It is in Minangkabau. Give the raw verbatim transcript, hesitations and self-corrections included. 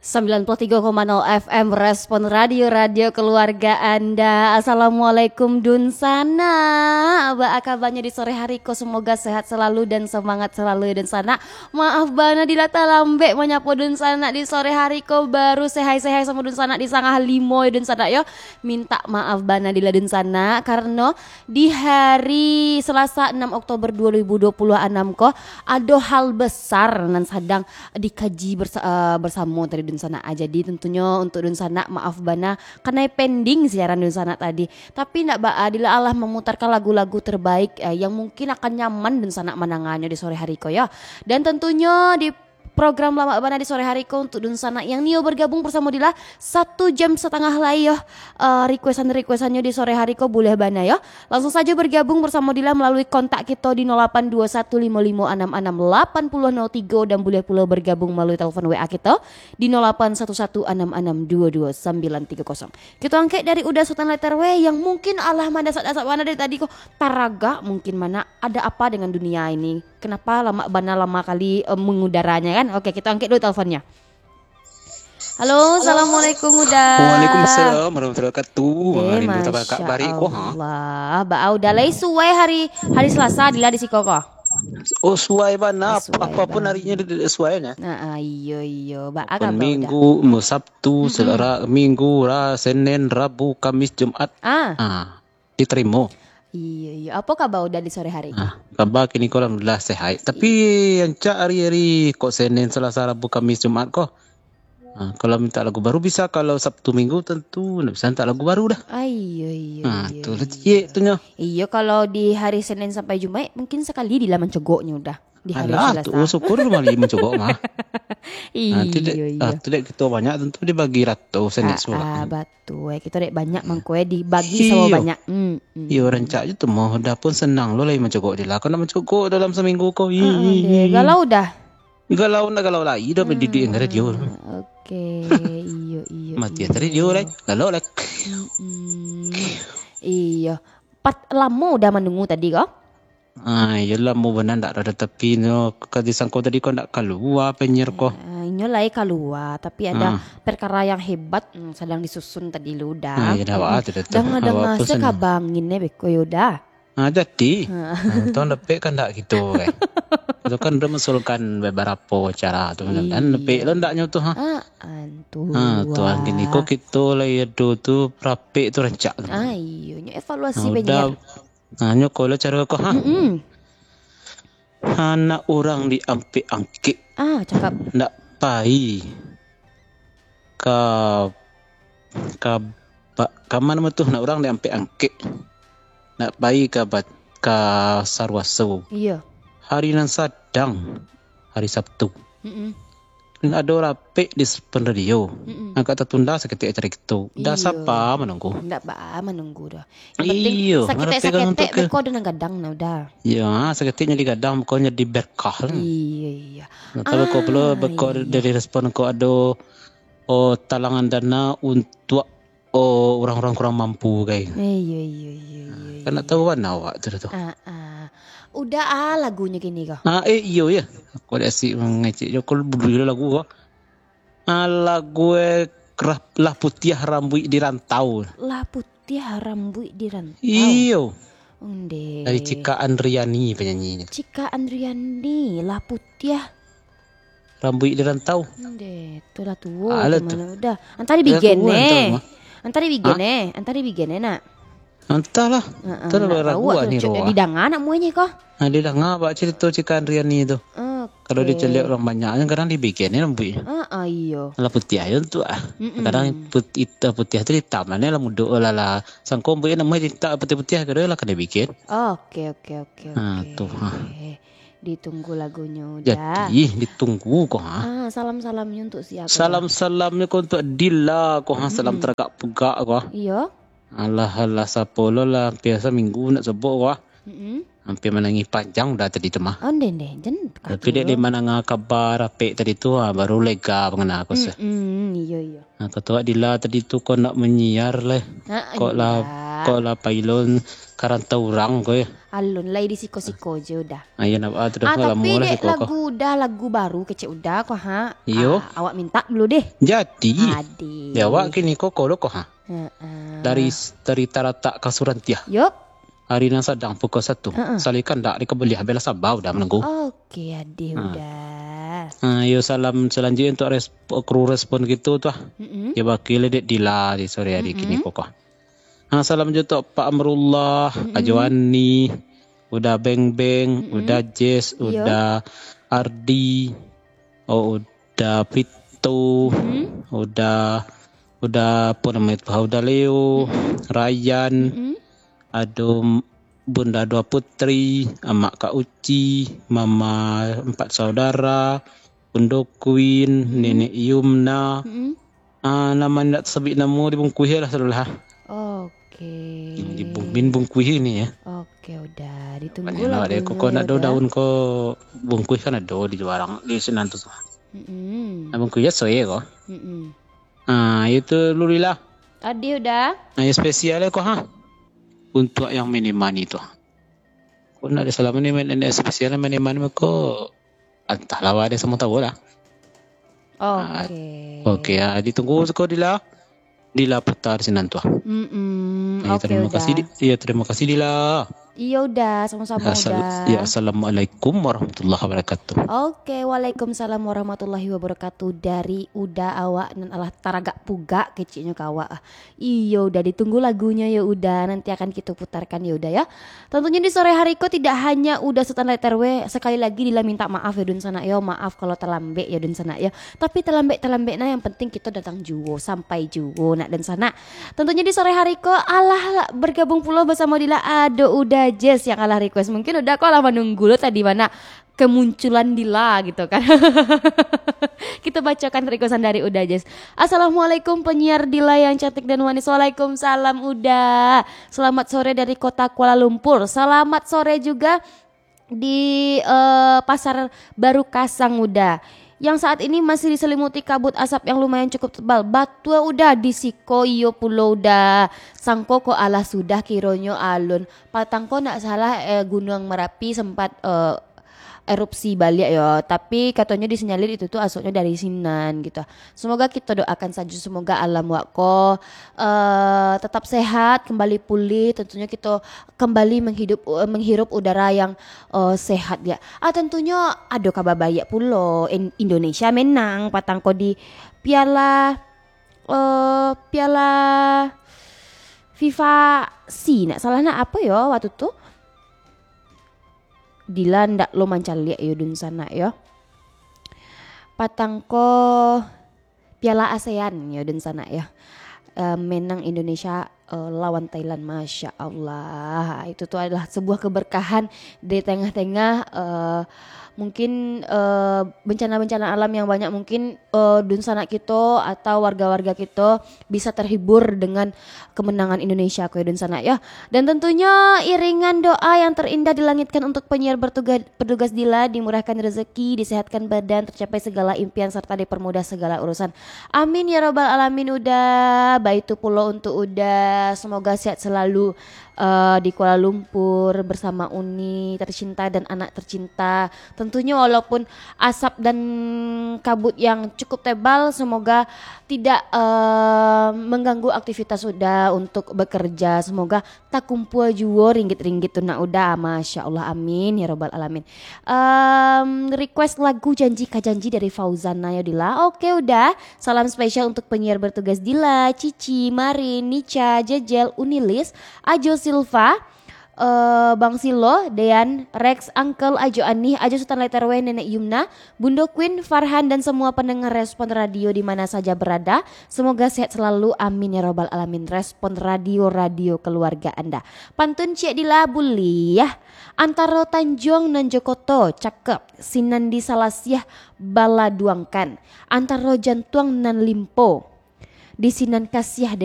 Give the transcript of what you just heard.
Sembilan puluh tiga koma nol F M Respon Radio, radio keluarga Anda. Assalamualaikum, Dunsanak. Baa kabanyo di sore hari ko? Semoga sehat selalu dan semangat selalu, yo, Dunsanak. Maaf bana, Dila talambek manyapo Dunsanak di sore hari ko. Baru sehai-sehai samo Dunsanak di sangah limo, yo, Dunsanak, yo. Mintak maaf bana, Dila, Dunsanak, karano di hari Selasa, enam Oktober dua ribu dua puluh anam ko, ado hal besar nan sadang dikaji bersa-, eh, bersamo tadi, Dunsanak. Ah, jadi, tentunyo untuk Dunsanak, maaf bana, kanai pending siaran Dunsanak tadi. Tapi ndak baa, Dila alah memutarkan lagu-lagu terbaik, eh, yang mungkin akan nyaman Dunsanak mandanganyo di sore hari ko, yo. Dan tentunyo di program Lamak Bana di sore hari ko, untuk Dunsanak yang nio bergabung bersamo Dila, satu jam setengah lai, yo, eh, requestan-requestannyo di sore hari ko, buliah bana, yo. Langsung sajo bergabung bersamo Dila melalui kontak kito di nol lapan dua satu limo limo anam anam lapan puluh nol tigo, dan buliah pulo bergabung melalui telepon W A kito di nol lapan satu satu anam anam dua dua sambilan tigo kosong. Kito angkek dari Uda Sutan Letter W yang mungkin alah mandasak-dasak bana dari tadi ko, taragak mungkin bana, ada apa dengan dunia ini? Kenapa lamak bana, lama kali, eh, mengudaranya, kan? Oke, kito angkek dulu teleponnyo. Halo, assalamualaikum, Uda. Waalaikumsalam warahmatullahi wabarakatuh. Eh, Rindu tabakak Masya bari ko, ha? Allah. Baa Uda lai suai hari, hari Selasa, Dila, di siko ko? Oh, suai bana. Suai Apapun bana. Harinya, dia, dia suai, nah. Nah, ah, iyo, iyo. Baa kabar, Uda? Minggu, Sabtu, Mm-mm. Selasa, Minggu, Ra-, Senin, Rabu, Kamis, Jumat. Ah. Ah, diterima. Iyo, iyo. Apo kabar Uda di sore hari ko? Ah, kabar kini ko alhamdulillah sehat. Tapi rancak hari-hari ko, Senin, Selasa, Rabu, Kamis, Jumat ko. Ah, kalau minta lagu baru bisa, kalau Sabtu Minggu tentu ndak bisa minta lagu baru dah. Ah, iyo, iyo, Ah, iyo, tu lah iyo. Ciek tu nyo. Iyo, kalau di hari Senin sampai Jumaik, mungkin sakali Dila mancogoknyo Uda. Di hari Alah, Selasa. Tu syukur mali mancogok mah. Iyo, Ah, tu dek, iyo. Ah, tu dek kito banyak, tentu dibagi rato Senin Ah, Selasa. Ah, batua. Eh, kito dek banyak mangko, eh, dibagi Iyo. Samo banyak. Hmm, hmm. Iyo, rancak je tu mah. Uda pun senang lo lai mancogok Dila. Kok nak mancogok dalam seminggu ko? Ah, ah, deh. Ih. Galau Uda. Galau ndak galau lai, dah mendidik yang radio. Ah, oke, iyo, iyo, Mati iyo. Tadi radio lai, galau lai. Mm-mm. Iyo. Pat-, lamo Uda manunggu tadi ko? Ah, iyo, lamo bana ndak ado, tapi nyo ka disangko tadi ko ndak kalua penyiar ko. Ah, inyo lai kalua, tapi ada Ah. perkara yang hebat, mm, sadang disusun tadi lo Uda. Ah, iyo, dah, Mm-mm. ah, tu dah tu. Danga-danga Awak pun se senang. Kabangin eh beko yo Uda. Ah, jadi. Ah. Ah, tong dapek kandak kito, kan. Kito kan udah mengusulkan beberapa cara tu, kan. Iyo. Dapek lo ndaknyo tu, ha? Ah, antu. Ah, Tuhan, kini ko kito lai ado tu, rapek tu rancak tu. Ah, iyo. Nyo evaluasi Ah, penyiar. Udah. Ah, nyo ko lo caro ko, ha? Mm-mm. Anak urang diampek-angkek. Ah, cakap. Ndak pai. Ka, ka, ba-, ka ma namo tu, nak urang diampek-angkek. Nak pai ka ba-, ka Saruaso. Iyo. Hari nan sadang, hari Sabtu. Mm-mm. Ado rapek di Sepen Radio. Mm-mm. Agak tatunda saketek acara kito. Dah Iyo. Sapa manunggu? Ndak ba manunggu doh. Yang penting Iyo, saketek-saketek ngarapek kan untuk ke beko ado nan gadang nah Uda. Iyo, ha, saketek jadi gadang, beko jadi berkah lah. Iyo, iyo. Atau beko pulo, Ah, beko iyo. Dari respon ko ado, oh, talangan dana untuk, oh, urang-urang kurang mampu, kai. Iyo, iyo, iyo, iyo, Kan iyo. Nak tahu kan awak tu, tu. Ah, ah. Uda ah lagunyo kini ko? Ah, eh, iyo, ya. Aku ada asik mengecek je. Aku dulu lagu ko. Ah, lagu, eh, Lah Putiah Rambuik di Rantau. Lah Putiah Rambuik di Rantau. Iyo. Onde. Dari Cika Andriani penyanyinyo. Cika Andriani, Lah Putiah Rambuik di Rantau. Onde, tu lah tuo. Alah tu. Uda. Antari bigen eh. Antari bigen eh. Antari bigen eh, nak. Antahlah. Heeh, antah lah lagu ah ni tu. Didanga nak muahnyo ko? Ah, didanga bak cerito Cika Andriani tu. Oke. Kalau dicaliak urang banyak, kadang dibikin ni rambuiknyo. Ah, ah, iyo. Lah putiah ayo tu ah. Mm-mm. Kadang put-, ita-, putiah tu itam lah, ni lah mudok lah, lah. Sangko rambuiknyo namuah ditak putiah-putiah, kadang lah kanai bikin. Oke, oke, oke, oke. Ah, tu, ha. Ditunggu lagunyo Uda. Jadi, ditunggu ko, ha. Ah, salam-salamnyo untuk siapa? Salam-salamnyo ko untuk Dila ko, ha. Salam taragak pugak ko. Iyo. Alah, alah, sapo lo lah, hampir saminggu nak sobok ko, ha. Mm-mm. Hampir manangih panjang Uda tadi tu mah. Onde, onde, jan. Tapi dek, dek mandanga kaba rapek tadi tu, ha, baru lega mangana ko se. Mm-mm, iyo, iyo. Ha, kato Dila tadi tu ko nak manyiar lah. Ha, ko lah. Ko lah pailon karantau urang ko, yo. Alun lai di siko-siko je Uda. Ah, iyo, nak, ah, tu dah Ah, lamo tapi lah dek siko ko. Lagu Uda, lagu baru kecek Uda ko, ha. Iyo. Ah, awak mintak dulu deh. Jadi, Ade. Di awak kini ko, ko lo ko, ha. Heeh. Dari, dari Taratak ka Surantiah. Yup. Hari nan sadang pukul satu. Heeh. Salikan dak dikabaliah, bela sabar Uda manunggu. Oke, Ade Ha. Uda. Ah, iyo, salam salanjuiknyo untuk resp-, kru respon kito tu, ah. Mm-mm. Yo, bakil dek Dila di sore hari Mm-mm. kini ko, ko. Ha, salam jo tu Pak Amrullah, Mm-mm. Ajo Ani, Uda Beng Beng, Mm-mm. Uda Jess, Iyo. Uda Ardi, oh, Uda Prito, Mm-mm. Uda, Uda apo namo itu, Uda Leo, Mm-mm. Ryan, Mm-mm. ado Bunda Dua Putri, Amak Kak Uci, Mama Empat Saudara, Undo Queen, Mm-mm. Nenek Yumna, Mm-mm. Ah, nan indak tasabuik namo dibungkuih lah, sudah lah. Oke. Hmm, dibung-, min bungkuih ini, yo. Oke, Uda. Ditunggu lagunyo, yo, Uda. Banyak lah, deh. Kok nak daun ko bungkuih kan ado di juarang, di sinan tu. Mm-mm. Nah, bungkuih yo soe ko. Mm-mm. Ah, itu dulu lah. Ade Uda. Nah, yang spesial ko, ha. Untuk yang mini mani tu. Kok nak ada salam ni, main, yang spesial mini mani ko. Antahlah, wak ado samo tahu lah. Oke. Ah, oke, ah, ditunggu siko Dila. Dila putar sinan tu. Mm-mm. Ah, iyo, oke, terima kasih, Uda. Di-, iyo, terima kasih, Dila. Iyo, Uda, samo-samo, Assal-, Uda. Iyo, assalamualaikum warahmatullahi wabarakatuh. Oke, waalaikumsalam warahmatullahi wabarakatuh. Dari Uda awak nan alah taragak pugak keceknyo ka awak. Iyo, Uda, ditunggu lagunyo yo, Uda. Nanti akan kito putarkan yo, Uda, yo. Tentunyo di sore hari ko tidak hanya Uda Sutan Lait R W, sekali lagi Dila minta maaf yo, dunsanak yo. Maaf kalau talambek yo, dunsanak yo. Tapi talambek-talambek nah, yang penting kito datang juo, sampai juo, nak dunsanak. Tentunyo di sore hari ko alah bergabung pulo basamo Dila ado Uda Jess yang alah request. Mungkin Uda ko alah manunggu lo tadi, mana kemunculan Dila gitu kan. Kita bacakan requestan dari Uda Jess. "Assalamualaikum penyiar Dila yang cantik dan manis." Waalaikumsalam Uda. "Selamat sore dari kota Kuala Lumpur." Selamat sore juga di, eh, Pasar Baru Kasang Uda. "Yang saat ini masih diselimuti kabut asap yang lumayan cukup tebal." Batua Uda, di siko iyo pulo Uda. Sangko ko alah sudah kironyo alun. Patang ko nak salah, eh, Gunuang Merapi sempat, eh, erupsi baliak yo, tapi katonyo disinyalir itu tu asoknyo dari sinan gitu. Semoga kito doakan sajo, semoga alam wak ko, eh, tetap sehat, kembali pulih, tentunyo kito kembali menghidup, eh, menghirup udara yang, eh, sehat ya. Ah, tentunyo ado kaba baiak pulo, In-, Indonesia menang patang ko di piala, eh, piala FIFA C, nak salah nak apo yo waktu tu? Dila ndak lo mancaliak yo, dunsanak yo. Patang ko Piala ASEAN yo, dunsanak yo. Eh, menang Indonesia, eh, lawan Thailand. Masya Allah. Itu tu adalah sebuah keberkahan di tengah-tengah, eh, mungkin, eh, bencana-bencana alam yang banyak. Mungkin, eh, dunsanak kito atau warga-warga kito bisa terhibur dengan kemenangan Indonesia ko yo, dunsanak yo. Dan tentunyo iringan doa yang terindah dilangitkan untuk penyiar bertugas, bertugas Dila, dimurahkan rezeki, disehatkan badan, tercapai segala impian, serta dipermudah segala urusan. Amin ya robbal alamin, Uda. Baitu pulo untuk Uda, semoga sehat selalu, eh, di Kuala Lumpur bersama Uni tercinta dan anak tercinta. Tentunyo walaupun asap dan kabut yang cukup tebal, semoga tidak, eh, mengganggu aktivitas Uda untuk bekerja. Semoga takumpua juo ringgit-ringgit tu nak Uda. Masya Allah, amin ya robbal alamin. Em, request lagu Janji Ka Janji dari Fauzana yo, Dila. Oke, Uda. Salam spesial untuk penyiar bertugas Dila, Cici, Marin, Nica, Jejel, Unilis, Ajo Silva, eh, Bang Silo, Dean, Rex, Uncle, Ajo Anih, Ajo Sutan Letter W, Nenek Yumna, Bundo Queen, Farhan, dan semua pendengar Respon Radio di mana saja berada. Semoga sehat selalu. Amin ya robbal alamin. Respon Radio, radio keluarga Anda. Pantun ciek Dila buliah. Antaro Tanjuang nan jo koto, cakep. Sinan di Salasiah baladuangkan. Antaro jantuang nan limpo, di sinan Kasiah den